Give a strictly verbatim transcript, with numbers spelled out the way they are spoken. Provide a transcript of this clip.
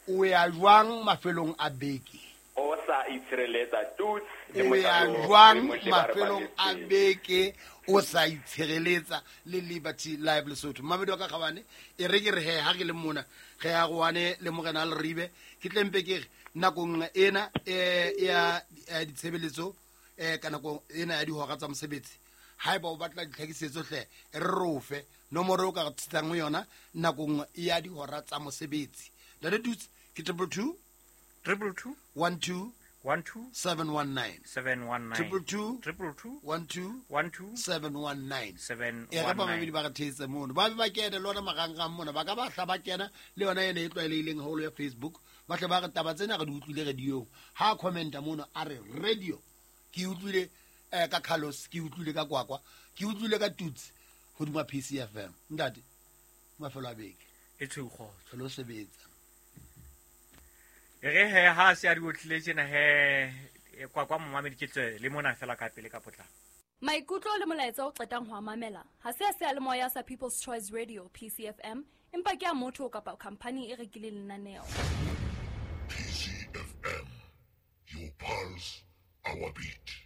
O ya jwang mafelong a beke? O sa itshireletsa Tuts le O ya mosadi o- jwang le motle ba re mafelong a balletseng. beke o sa itshireletsa le Liberty Live Lesotho? Mamedi wa ka kgabane, e re ke re he, ha ke le mona ge ya goane le morena a Leribe, ke tlempe ke re nakong ena eh, ya eh, ditshebeletso, eh, ka nako ena ya dihora tsa mosebetsi, haeba o batla ditlhakisetso hle, re rofe nomoro o ka re thusang ho yona nakong ya dihora tsa mosebetsi. Ntate Tuts, ke triple two Triple two one two one two seven one nine. seven one nine. Triple two Triple two one two one two seven one nine. seven E re one bamamedi nine. ba re theetse mono, ba be ba kene le ona marangrang mona, ba ka ba hla ba kena le yona ena e tlwaelehileng haholo ya Facebook, ba hle ba re taba tsena re di utlwile radiong. Ha a commenta mono a re radio ke utlwile, eh, ka Carlos, ke utlwile ka Kwakwa, ke utlwile ka Tuts hodima P C F M. Ntate, mafelo a beke E tshweu kgotso. Re lo sebetsa. E re he, ha se a di otlile tjena he, e, Kwakwa momamedi ke tswe le mona fela ka pele ka potlako. Maikutlo le molaetsa o qetang ho a mamela ha se a seyalemoya sa People's Choice Radio P C F M, empa ke a motho kapa khamphani e rekileng lenaneo. P C F M, your pulse, our beat.